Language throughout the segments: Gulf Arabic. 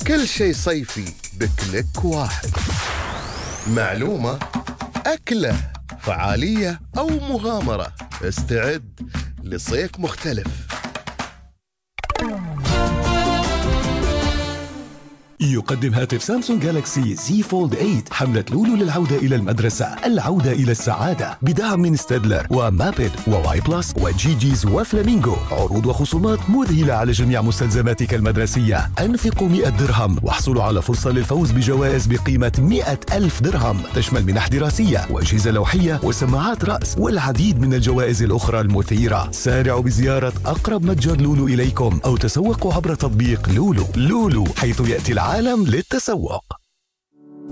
كل شيء صيفي بكليك واحد. معلومة، أكلة، فعالية أو مغامرة، استعد لصيف مختلف. يقدم هاتف سامسونج جالاكسي زي فولد 8 حملة لولو للعودة إلى المدرسة، العودة إلى السعادة، بدعم من ستادلر ومابد وواي بلس وجي جيز وفلامينغو. عروض وخصومات مذهلة على جميع مستلزماتك المدرسية. أنفقوا 100 درهم واحصلوا على فرصة للفوز بجوائز بقيمة 100,000 درهم، تشمل منح دراسية وأجهزة لوحية وسماعات رأس والعديد من الجوائز الأخرى المثيرة. سارعوا بزيارة أقرب متجر لولو إليكم أو تسوقوا عبر تطبيق لولو. لولو، حيث يأتي العالم للتسوق.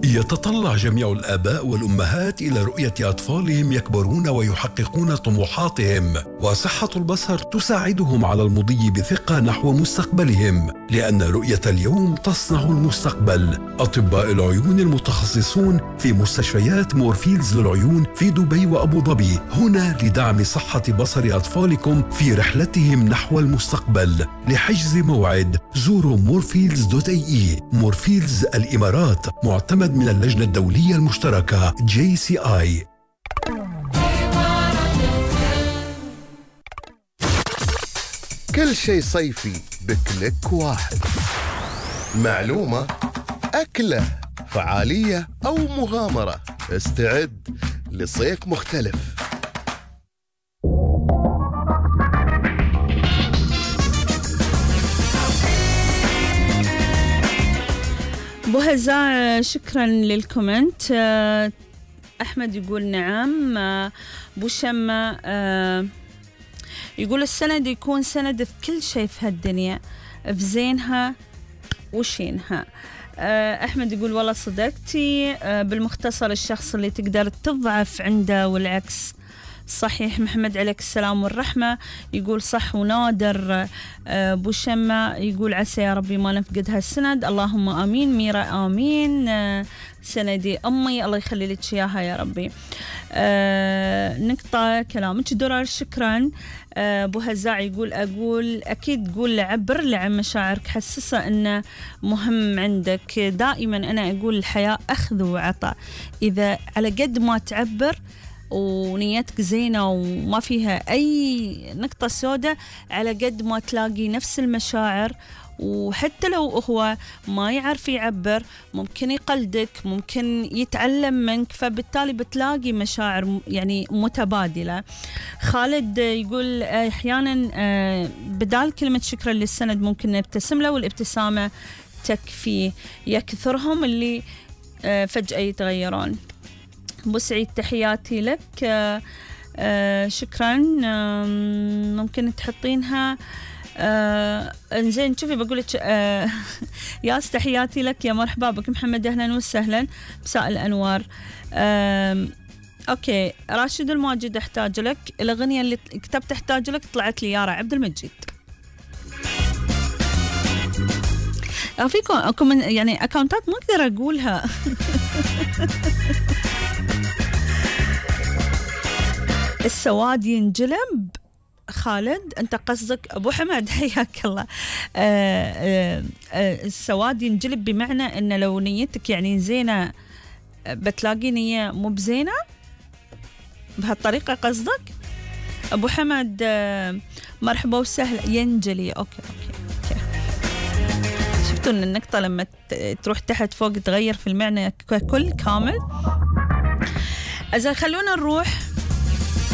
يتطلع جميع الآباء والأمهات إلى رؤية أطفالهم يكبرون ويحققون طموحاتهم، وصحة البصر تساعدهم على المضي بثقة نحو مستقبلهم، لأن رؤية اليوم تصنع المستقبل. أطباء العيون المتخصصون في مستشفيات مورفيلدز للعيون في دبي وأبو ظبي هنا لدعم صحة بصر أطفالكم في رحلتهم نحو المستقبل. لحجز موعد زوروا morfields.ae. مورفيلدز الإمارات، معتمد من اللجنة الدولية المشتركة JCI. كل شيء صيفي بكليك واحد. معلومة، أكلة، فعالية أو مغامرة، استعد لصيف مختلف. أبو هزاع شكرا للكومنت. أحمد يقول نعم. أبو شمة يقول السند يكون سند في كل شيء في هالدنيا، في زينها وشينها. أحمد يقول والله صدقتي، بالمختصر الشخص اللي تقدر تضعف عنده والعكس. صحيح. محمد عليك السلام والرحمة يقول صح ونادر. أبو شمة يقول عسى يا ربي ما نفقد هالسند، اللهم آمين. ميرا آمين. سندي أمي الله يخلي لك إياها يا ربي. نقطة كلامك درر. شكرا. أبو هزاع يقول أقول أكيد قول لعبر لعن مشاعرك، حسسة أنه مهم عندك. دائما أنا أقول الحياة أخذ وعطاء، إذا على قد ما تعبر ونيتك زينة وما فيها أي نقطة سوداء، على قد ما تلاقي نفس المشاعر. وحتى لو هو ما يعرف يعبر ممكن يقلدك، ممكن يتعلم منك، فبالتالي بتلاقي مشاعر يعني متبادلة. خالد يقول أحيانا بدال كلمة شكرا للسند ممكن نبتسم له، والابتسامة تكفي. يكثرهم اللي فجأة يتغيرون. أبو سعيد تحياتي لك. شكرا. ممكن تحطينها انزين. شوفي بقولك ياس تحياتي لك يا مرحبا بك. محمد أهلا وسهلا، مساء الأنوار. أوكي. راشد الماجد أحتاج لك، الأغنية اللي كتبت أحتاج لك طلعت لي يارا عبد المجيد. فيكم يعني أكاونتات ما أقدر أقولها. السواد ينجلب. خالد أنت قصدك أبو حمد حياك الله. السواد ينجلب بمعنى أن لو نيتك يعني زينة بتلاقي نية مو بزينة، بهالطريقة قصدك أبو حمد؟ مرحبا وسهلا. ينجلي. أوكي. شفتوا أن النقطة لما تروح تحت فوق تغير في المعنى كل كامل. إذا خلونا نروح